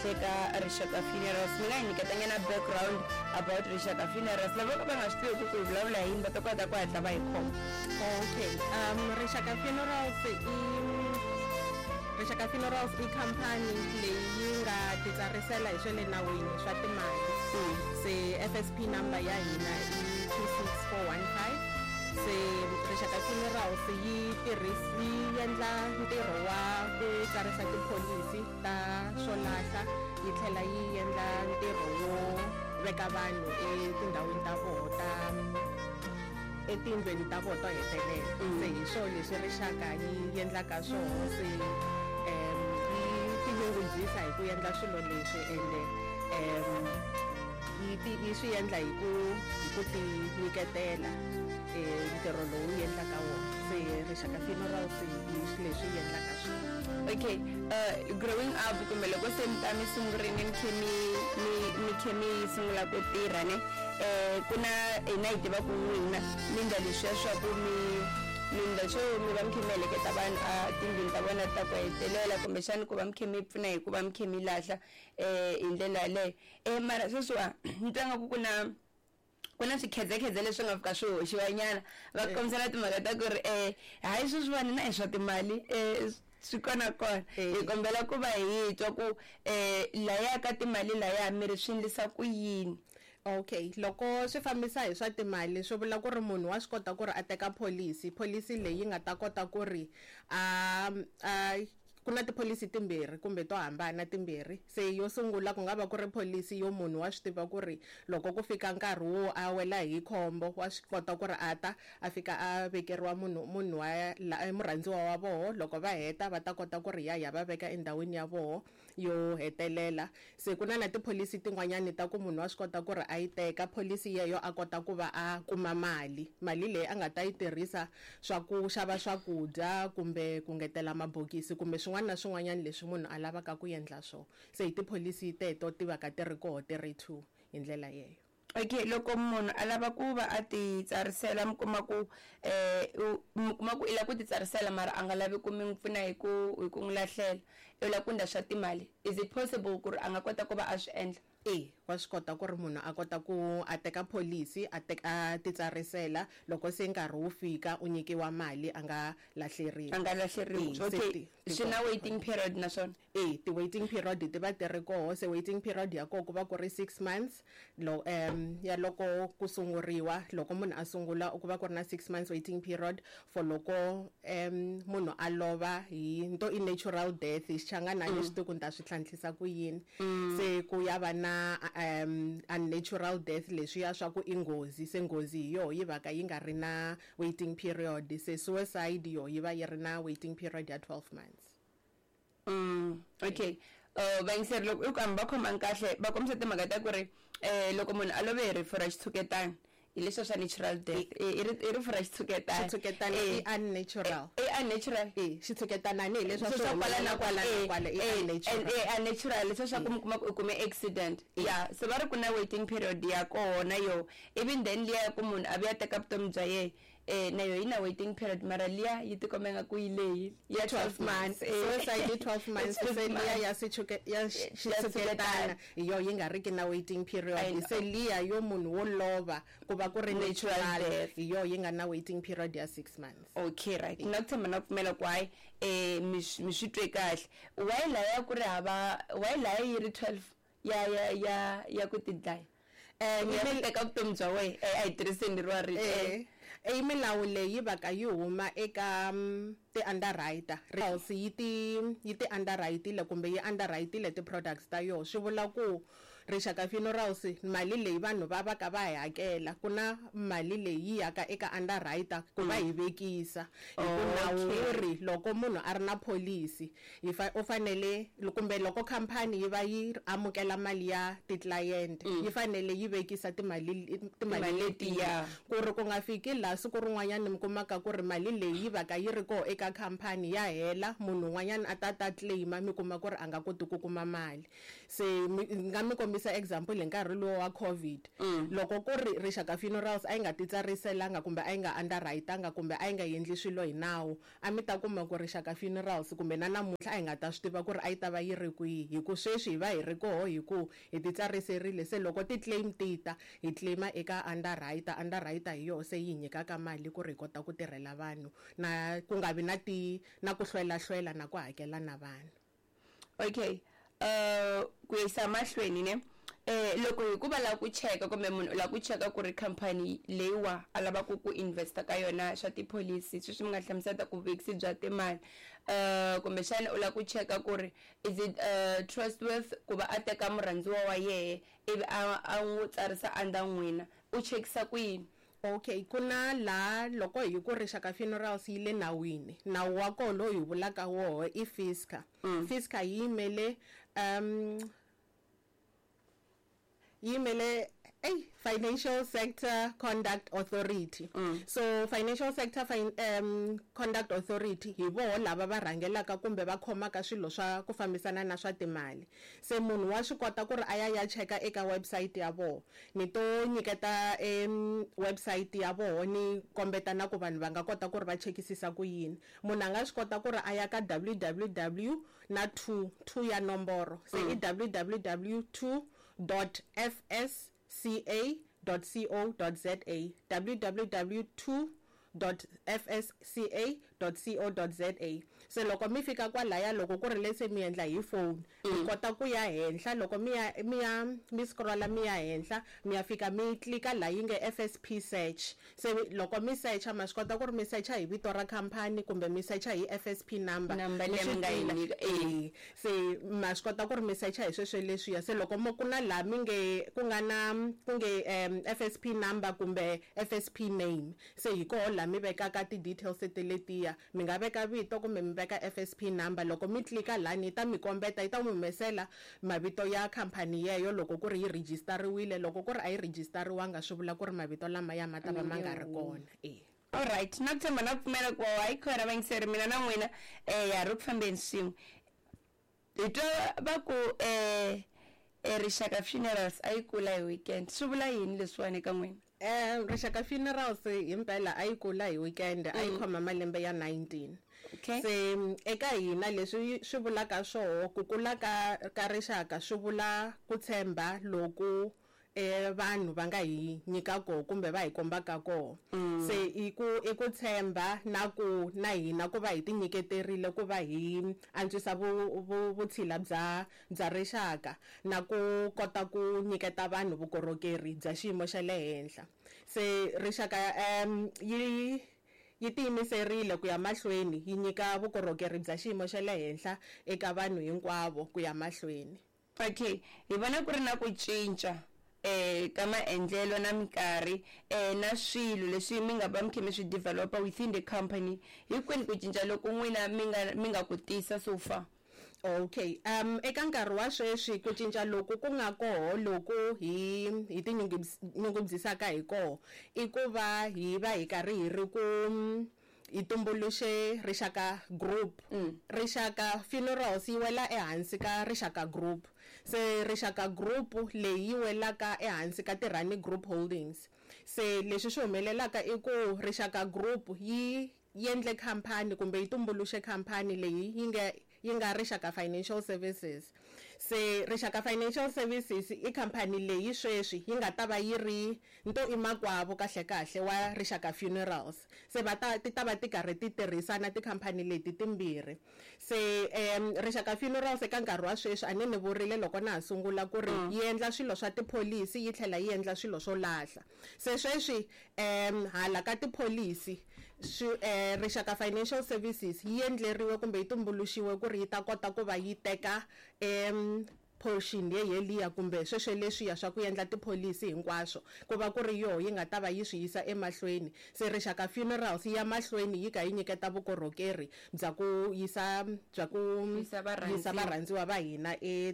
Eka Rixaka Funerals. Mi nga hi nyiketanyana background about Rixaka Funerals, lava vo ka va nga swi tiveki ku hi vulavula hi yini va ta kota ku hatla va hi khoma. Okay, Rixaka Funerals i Rixaka Funerals i khampani leyi yi nga titsarisela hi swa le nawini swa timali. Se FSP number ya hina i 26415. Se Rixaka Funerals yi yi endla ntirho wa ku tsarisa tipholisi ta swo lahla, yi tlhela yi endla ntirho wo veka vanhu etindhawini ta voho ta etindlwini ta voho to hetelela. Se hi swo leswi Rixaka yi endlaka swoho. Se yi tinyungubyisa hi ku endla swilo leswi, ende yi swi endla hi ku ti nyiketela ntirho lowu yi endlaka wona. Se Rixaka Funerals hi leswi yi endlaka swona. Okay, growing up kumbe loko se mi ta mi sungurini, mi khe mi khe mi sungula ku tirha ne, ku na hina hi tiva ku n'wina mi ndla leswiya swa ku mi ndla swo mi va mi khe mi heleketa vanhu a tindlwini ta vona ta ku hetelela, kumbexani ku va mi khe mi pfuna hi ku va mi khe mi lahla hi ndlela yaleyo. Mara sweswiwa ni twa nga ku na swikhedzekhedze leswi nga fika swi hoxiwa nyana, va kombisana timhaka ta ku ri hayi, sweswiwani na hi swa timali swi kona kona. Hi kombela ku va hi twa ku laya ka timali laya mi ri swi endlisa ku yini? Okay, loko swi fambisa hi swa timali, swi vula ku ri munhu wa swi kota ku ri a teka policy leyi nga ta kota ku ri a ku na tipholisi timbirhi kumbe to hambana timbirhi. Se yo sungula ku nga va ku ri pholisi yo munhu wa swi tiva ku ri loko ku fika nkarhi wo a wela hi khombo, wa swi kota ku ri a ta a fika a vekeriwa munhu wa murhandziwa wa voho. Loko va heta, va ta kota ku ri ya ya va veka endhawini ya voho yo hetelela. Se ku na tipholisi tin'wanyani ta ku munhu wa swi kota ku ri a yi teka pholisi yeyo, a kota ku va a kuma mali leyi a nga ta yi tirhisa swa ku xava swakudya kumbe ku ngetela mabokisi kumbe swin'wana na swin'wanyana leswi munhu a lavaka ku endla swona. Se hi tipholisi teto ti va ka ti ri koho, ti ri two hi ndlela yeyo. Okay, loko munhu a lava ku va a ti tsarisela, mi kuma ku i lava ku ti tsarisela mara a nga lavi ku mi n'wi pfuna hi ku n'wi lahlela, i lava ku endla swa timali, is it possible ku ri a nga kota ku va a swi endla? E, wa swi kota ku ri munhu a kota ku a teka pholisi, a teka, a titsarisela. Loko se nkarhi wu fika, u nyikiwa mali, a nga lahleriwi. A nga lahleriwi. Se Swi na waiting period naswona? E, ti-waiting period ti va ti ri koho. Se waiting period ya koho ku va ku ri 6 months lo ya loko ku sunguriwa. Loko munhu a sungula, ku va ku ri na 6 months waiting period for loko munhu a lova hi nto i natural death. Hi Xichangana a ni swi tivi ku ni ta swi tlhantlhisa ku yini. Se ku ya va na unnatural death, leswiya swa ku i nghozi. Se nghozi hi yoho yi va ka yi nga ri na waiting period. Se suicide yo yi va yi ri na waiting period ya 12 months. Okay, vayingiseri, loko i ku hambi va khomangi kahle, va kombisa timhaka ta ku ri loko munhu a love hi rifu ra xitshuketana, hi leswiya swa natural death, i rifu ra xitshuketana. Xitshuketana i unnatural. I unnatural. E, xitshuketana ni hi leswi swa kwala na kwala na kwala i unnatural. Unnatural, leswiya swa ku mi kuma ku u kume accident ya. Se va ri ku na waiting period ya kona yo. Even then liya ya ku munhu a vuya teka vutomi bya yena, na yo yi na waiting period, mara liya yi tikomba nga ku yi leyi ya 12 months. Suicide i 12 months. Se liya ya ya xitshuketana hi yo yi nga riki na waiting period. Se liya yo munhu wo lova ku va ku ri natural death, hi yo yi nga na waiting period ya 6 months. Okay, right, na ku tshemba na ku pfumela ku hayi, mi swi twe kahle. Why laya ku ri hava? Why laya yi ri 12 ya ku tidlaya, ya ku teka vutomi bya wena? A hi tirhiseni ri wa rito. I milawu leyi va ka yi huma eka ti-underwriter. House yi ti underwrite-ile kumbe yi underwrite-ile ti-products ta yoho. Swi vula ku Rixaka Funerals, mali leyi vanhu va va ka va yi hakela, ku na mali leyi yi yaka eka underwriter ku va hi vekisa, hi ku nawu wu ri loko munhu a ri na pholisi, yi fa u fanele, kumbe loko khampani yi va yi amukela mali ya ti-client, yi fanele yi vekisa timali letiya, ku ri ku nga fiki laha siku rin'wanyana mi kumaka ku ri mali leyi yi va ka yi ri koho eka khampani ya hela, munhu un'wanyana a ta claima, mi kuma ku ri a nga koti ku kuma mali. Se ni nga mi kombisa example hi nkarhi lowu wa COVID. Loko ku ri Rixaka Funerals a yi nga titsariselanga kumbe a yi nga underwritanga kumbe a yi nga endli swilo hi nawu, a mi ta kuma ku Rixaka Funerals kumbe na namuntlha a hi nga ta swi tiva ku ri a yi ta va yi ri kwihi, hi ku sweswi hi va hi ri koho hi ku hi titsariserile. Se loko ti-claim ti ta, hi claim-a eka underwriter, underwriter hi yoho se yi hi nyikaka mali ku ri hi kota ku tirhela vanhu na ku nga vi na ti na ku hlwelahlwela na ku hakela na vanhu. Okay, ku yisa mahlweni ne, loko hi ku va lava ku cheka kumbe munhu u lava ku cheka ku ri khampani leyiwa a lavaka ku investa ka yona swa tipholisi, sweswi mi nga hlamusela ku vuvekisi bya timali, kumbexana u lava ku cheka ku ri is it trustworth ku va a teka murhandziwa wa yehe ivi a n'wi tsarisa under n'wina, u chekisa ku yini? Okay, ku na laha loko hi ku Rixaka Funerals yi le nawini, nawu wa koho lowu hi vulaka woho i FISCA. FISCA yi yimele yi yimele ey Financial Sector Conduct Authority. So Financial Sector Conduct Authority hi voho lava va rhangelaka kumbe va khomaka swilo swa ku fambisana na swa timali. Se munhu wa swi kota ku ri a ya ya cheka eka website ya voho. Ni to nyiketa website ya voho ni kombeta na ku vanhu va nga kota ku ri va chekisisa ku yini. Munhu a nga swi kota ku ri a ya ka www na 2, 2 ya nomboro. Se i www two dot f s c a dot c o dot z a, www two dot f s c a dot c o dot z a. Se loko mi fika kwalaya, loko ku ri lese mi endla hi phone, mi kota ku ya henhla, loko mi ya mi ya mi scrolla mi ya henhla, mi ya fika mi tlika laha yi nge FSP search. Se loko mi searcha, ma swi kota ku ri mi searcha hi vito ra khampani kumbe mi searcha hi FSP number. Number Mi leyi swi mi nga yi tiva. nyika, eh. Se ma swi kota ku ri mi searcha hi sweswo leswiya. Se loko mo ku na laha mi nge ku nga na ku nge FSP number kumbe FSP name, se hi koho laha mi vekaka ti-details tete letiya. Mi nga veka vito kumbe mi veka FSP number. Loko mi tlika lani yi ta mi kombeta, yi ta mi humesela mavito ya khampani yeyo loko ku ri yi registeriwile. Loko ku ri a yi registeriwanga, swi vula ku ri mavito lamaya ma ta va ma nga ri kona. Alright, na ku tshemba na ku pfumela ku hayi khona vayingiseri, mina na n'wina ya ri ku fambeni swin'we. Hi twa va ku Rixaka Funerals a yi kula hi weekend, swi vula yini leswiwani eka n'wina? Rixaka Funerals himpela a yi kula hi weekend, a yi khoma malembe ya 19. Se eka hina leswi swi vulaka swoho, ku kula ka Rixaka swi vula ku tshemba loku vanhu va nga hi nyika koho kumbe va hi kombaka koho. Se i ku tshemba na ku na hina ku va hi tinyiketerile ku va hi antswisa vutshila bya Rixaka na ku kota ku nyiketa vanhu vukorhokeri bya xiyimo xa le henhla. Se Rixaka yi tiyimiserile ku ya mahlweni yi nyika vukorhokeri bya xiyimo xa le henhla eka vanhu hinkwavo ku ya mahlweni. Okay, hi vona ku ri na ku cinca ka maendlelo na minkarhi na swilo leswi mi nga va mi kha mi swi developer within the company. Hi kwini ku cinca loku n'wina mi nga ku tisa so far? Okay, eka nkarhi wa sweswi ku cinca loku ku nga koho loku hi tinyungubyisaka hi koho i ku va hi va hi karhi hi ri ku hi tumbuluxe Rixaka Group. Rixaka Funerals yi wela ehansi ka Rixaka Group. Se Rixaka Group leyi yi welaka ehansi ka Tirhani Group Holdings. Se leswi swi humelelaka i ku Rixaka Group yi endle khampani kumbe yi tumbuluxe khampani leyi yi nga Rixaka Financial Services. Se Rixaka Financial Services i khampani leyi sweswi yi nga ta va yi ri nto i makwavo kahle kahle wa Rixaka Funerals. Se va ta ti ta va ti karhi ti tirhisana tikhampani leti timbirhi. Se Rixaka Funerals eka nkarhi wa sweswi a ni ni vurile loko na ha sungula ku ri yi endla swilo swa tipholisi yi tlhela yi endla swilo swo lahla. Se sweswi hala ka tipholisi swi Rixaka Financial Services yi endleriwe kumbe yi tumbuluxiwe ku ri yi ta kota ku va yi teka portion yeliya kumbe sweswo leswiya swa ku endla tipholisi hinkwaswo, ku va ku ri yoho yi nga ta va yi swi yisa emahlweni. Se Rixaka Funerals yi ya mahlweni yi ka yi nyiketa vukorhokeri bya ku yisa bya ku Yisa varhandziwa. yisa varhandziwa va hina e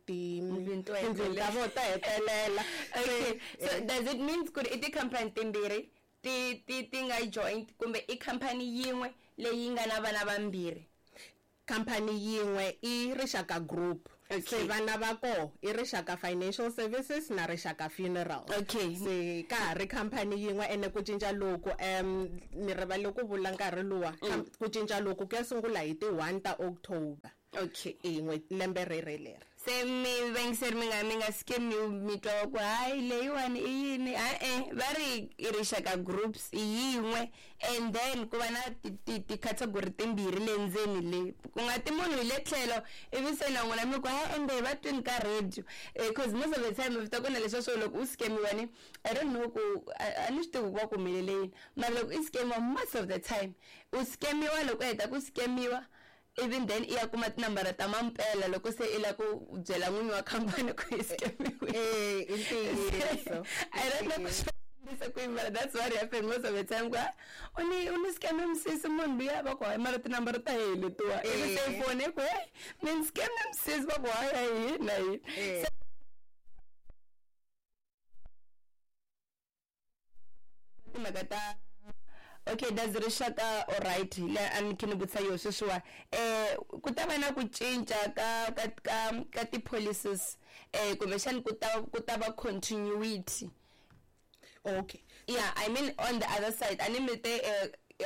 ti Tindlwini to tindlwini ta hetelela. vona to hetelela. Okay, so does it mean ku ri i tikhampani timbirhi ti nga joint kumbe i khampani yin'we leyi nga na vana vambirhi? Khampani yin'we i Rixaka Group. Se vana va koho i Rixaka Financial Services na Rixaka Funeral. Se ka ha ri khampani yin'we, ene ku cinca loku, ni rivale ku vula nkarhi luwa, ku cinca loku ku ya sungula hi ti 1 ta October. In'we lembe rere leri. Se mi vayingiseri mi nga scamiwi, mi twa ku hayi, leyiwani i yini? E-e, va ri i Rixaka Groups i yin'we, and then ku va na ti-category timbirhi le ndzeni le, ku nga ti munhu hi le tlhelo, ivi se na n'wina mi ku hayi, ende va twini ka radio, cause most of the time mi ta ku na leswiya swo loko u scamiwa ni, I don't know ku a ni swi tivi ku va ku humelele yini, mara loko i scamiwa, most of the time u scamiwa, loko u heta ku scamiwa, even then i ya kuma tinambara ta mampela loko se i lava ku byela n'winyi wa khampani ku i scamiwile. Eh, i ntiyiso. I don't know ku swi ku yini, mara that's what happened most of the time, ku u ni scame misisi munhu luya, va ku hayi, mara tinambara ta hehe letiwa, ivi se foni i ku hey, mi ni scame misisi, va ku hayi, hayi, hina hina. Se timhaka ta, okay, does Rixaka, alright, le a ni khe ni vutisa yo sweswiwa, ku ta va na ku cinca ka ti-policies, kumbexani ku ta va continuity? Yeah, I mean, on the other side, a ni mi te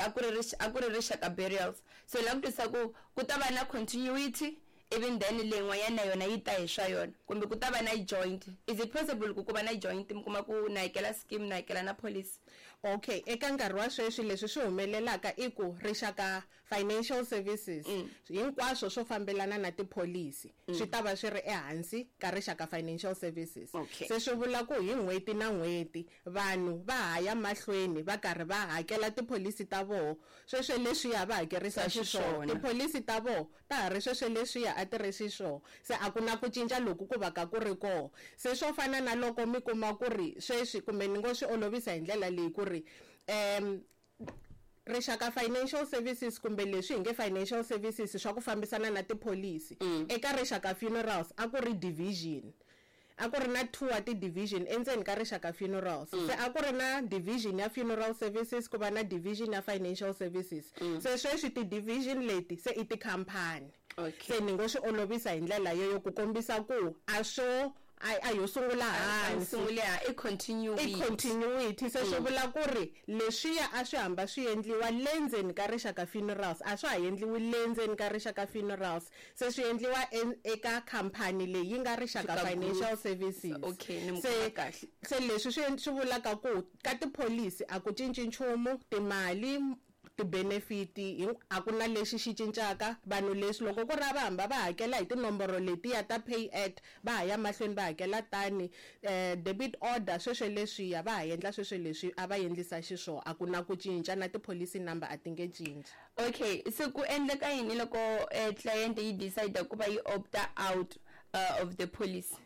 a ku ri Rixaka Burials, so la ku twisa ku ta va na continuity, even then leyin'wanyana na yona yi ta hi swa yona, kumbe ku ta va na joint? Is it possible ku va na joint, mi kuma ku na hakela scheme, na hakela na policy? Okay, eka nkarhi wa sweswi leswi swi humelelaka i ku Rixaka Financial Services, hinkwaswo swo fambelana na tipholisi swi ta va swi ri ehansi ka Rixaka Financial Services. Se swi vula ku hi n'hweti na n'hweti vanhu va ha ya mahlweni va karhi va hakela tipholisi ta voho sweswo leswiya va hakerisa xiswona. Tipholisi ta voho ta ha ri sweswo leswiya a ti ri xiswona, se a ku na ku cinca loku ku va ka ku ri koho. Se swo fana na loko mi kuma ku ri sweswi, kumbe ni ngo swi olovisa hi ndlela leyi ku ri Rixaka Financial Services, kumbe leswi hi nge financial services swa ku fambisana na tipholisi, eka Rixaka Funerals a ku ri division, a ku ri na two wa ti-division endzeni ka Rixaka Funerals. Se a ku ri na division ya funeral services, ku va na division ya financial services. Se sweswi ti-division leti se i tikhampani. Se ni ngo swi olovisa hi ndlela yoyo ku kombisa ku a swo a yo sungula hansi. Sungule i continuity. I continuity. Se swi vula ku ri leswiya a swi hamba swi endliwa le ndzeni ka Rixaka Funerals a swa ha endliwi le ndzeni ka Rixaka Funerals, se swi endliwa eka khampani leyi yi nga Rixaka Financial Services. Okay, ni Se kahle. Se leswi swi vulaka ku ka tipholisi a ku cinci nchumu, timali, ti-benefit a ku na lexi xi cincaka. Vanhu leswi loko ku ri a va hamba va hakela hi tinomboro letiya ta pay at, va ha ya mahlweni va hakela tani, debit order sweswo leswiya va ha endla sweswo leswi a va endlisa xiswona, a ku na ku cinca, na tipholisi number a ti nge cinci. Okay, se ku endleka yini loko client yi decide ku va yi opta out of the policy?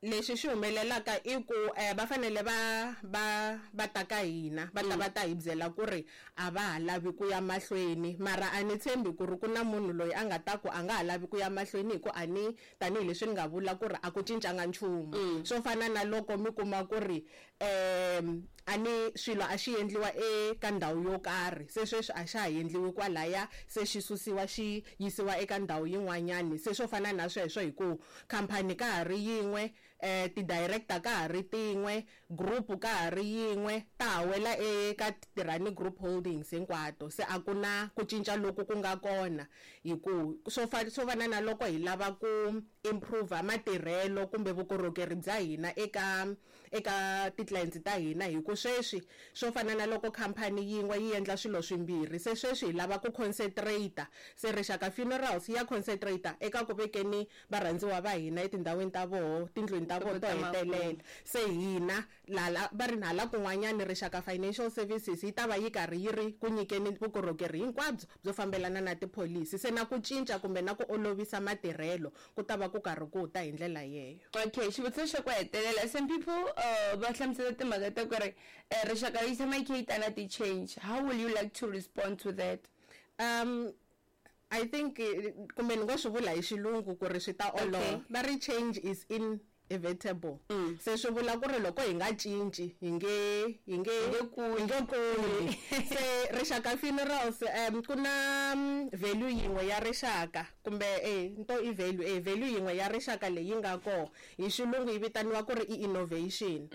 Lexi xi humelelaka i ku va fanele va ta ka hina, va ta va ta hi byela ku ri a va ha lavi ku ya mahlweni. Mara a ni tshembi ku ri ku na munhu loyi a nga ta ku a nga ha lavi ku ya mahlweni, hi ku a ni tanihileswi ni nga vula ku ri a ku cincanga nchumu. Swo fana na loko mi kuma ku ri a ni swilo a xi endliwa eka ndhawu yo karhi, se sweswi a xa ha endliwi kwalaya, se xi susiwa xi yisiwa eka ndhawu yin'wanyani. Se swo fana na sweswo, hi ku khampani ka ha ri yin'we, ti-director ka ha ri tin'we, group ka ha ri yin'we, ta ha wela eka Tirhani Group Holdings hinkwato. Se a ku na ku cinca loku ku nga kona, hi ku swo fana na loko hi lava ku improve matirhelo kumbe vukorhokeri bya hina eka ti-clients ta hina, hi ku sweswi swo fana na loko khampani yin'we yi endla swilo swimbirhi, se sweswi hi lava ku concentrate. Se Rixaka Funerals ya concentrate eka ku vekeni varhandziwa va hina etindhawini ta voho, tindlwini ta voho to hetelela. Se hina lala va ri hala kun'wanyani, Rixaka Financial Services yi ta va yi karhi yi ri ku nyikeni vukorhokeri hinkwabyo byo fambelana na tipholisi. Se na ku cinca kumbe na ku olovisa matirhelo ku ta va ku karhi ku ta hi ndlela yeyo. Okay, xivutiso xa ku hetelela, some people va hlamusela timhaka ta ku ri Rixaka yi tshama yi kha yi ta na ti-change. How will you like to respond to that? I think, kumbe ni ngo swi vula hi xilungu ku ri swi ta olova. Va ri change is in inevitable. Se swi vula ku ri loko hi nga cinci hi nge hi nge hi nge kuli. Se Rixaka Funerals, ku na value yin'we ya rixaka, kumbe nto i value, value yin'we ya rixaka leyi nga koho, hi xilungu yi vitaniwa ku ri i innovation,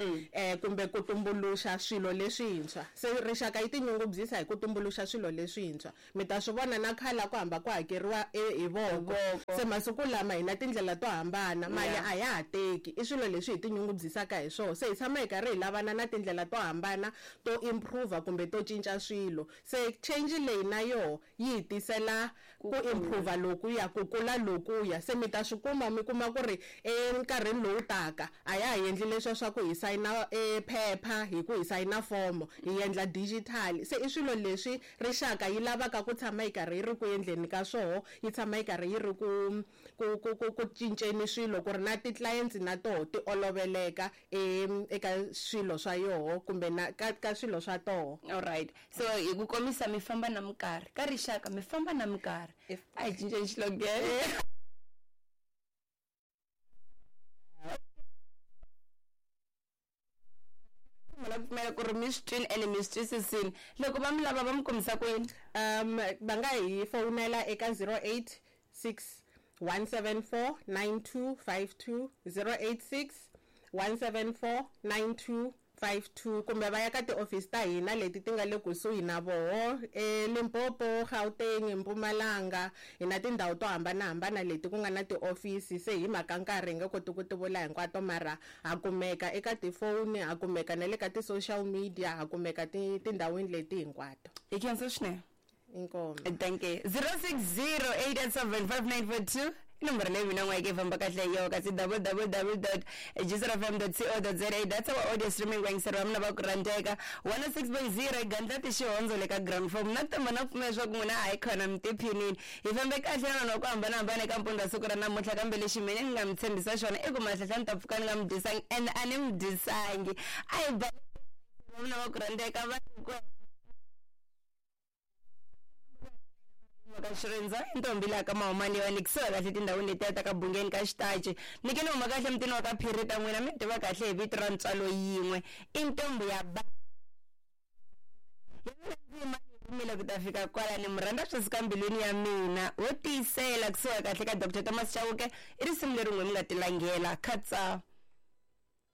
kumbe ku tumbuluxa swilo leswintshwa. Se rixaka yi tinyungubyisa hi ku tumbuluxa swilo leswintshwa. Mi ta swi vona na khale ku hamba ku hakeriwa hi voko, se masiku lama hi na tindlela to hambana, mali a ya ha teki. I swilo leswi hi tinyungubyisaka hi swona. Se hi tshama hi karhi hi lavana na tindlela to hambana to improve kumbe to cinca swilo. Se change leyi na yoho yi hi tisela ku improve lokuya, ku kula lokuya. Se mi ta swi kuma, mi kuma ku ri enkarhini lowu taka a ya ha endli leswiya swa ku hi sayina e phepha, hi ku hi sayina fomo, hi endla digital. Se i swilo leswi rixaka yi lavaka ku tshama yi karhi yi ri ku endleni ka swoho, yi tshama yi karhi yi ri ku cinceni swilo, ku ri na ti-clients na toho ti oloveleka eka swilo swa yoho kumbe na ka swilo swa toho. Alright, so hi ku komisa, mi famba na minkarhi. Ka rixaka mi famba na minkarhi. A hi cinceni xilogene. La pfumela ku ri mi swi twini ene mi swi twisisini. Loko va mi lava, va mi kombisa ku yini? Va nga hi fowunela eka 086 174 9252, 086 174 9252, kumbe va ya ka tiofisi ta hina leti ti nga le kusuhi na voho, eLimpopo, Gauteng, Mpumalanga. Hi na tindhawu to hambanahambana leti ku nga na tiofisi. Se hi mhaka nkarhi hi nge koti ku ti vula hinkwato, mara ha kumeka eka tifoni, ha kumeka na le ka ti-social media, ha kumeka tindhawini leti hinkwato. Hi khensa swinene. Inkomu. Thank you. 060 887 5942 i nomboro leyi mina n'wayeke yi famba kahle hi yoho, kasi www.jisrfm.co.za, that's our audio streaming. Vayingiseri va mina va ku rhandzeka, 106.0 gandlati xihondzo le ka ground form na tamba na pfumela leswaku n'wina a hi khona mi tiphinini. Hi fambe kahle na vanhu va ku hambanahambana eka mpundzu wa siku ra namuntlha, kambe lexi mina ni nga mi tshembisa xona i ku mahlahla ni ta pfuka ni nga mi dyisangi, and a ni mi dyisangi. A hi ba mina va ku rhandzeka va ku ka xirindza i ntombi laha ka mahumani leyiwani, kusuhi kahle tindhawini letiya ta ka Bungeni ka Xitaci. Ni ke ni huma kahle mutini wa ka Phiri ta n'wina, mi tiva kahle hi vito ra ntswalo yin'we, i ntombi ya ba yimile ku ta fika kwala. Ni mu rhandza swi suka mbilwini ya mina, wo tiyisela kusuhi kahle ka Dr Thomas Chauke. I risimu leri n'we mi nga tilanghela khatsa.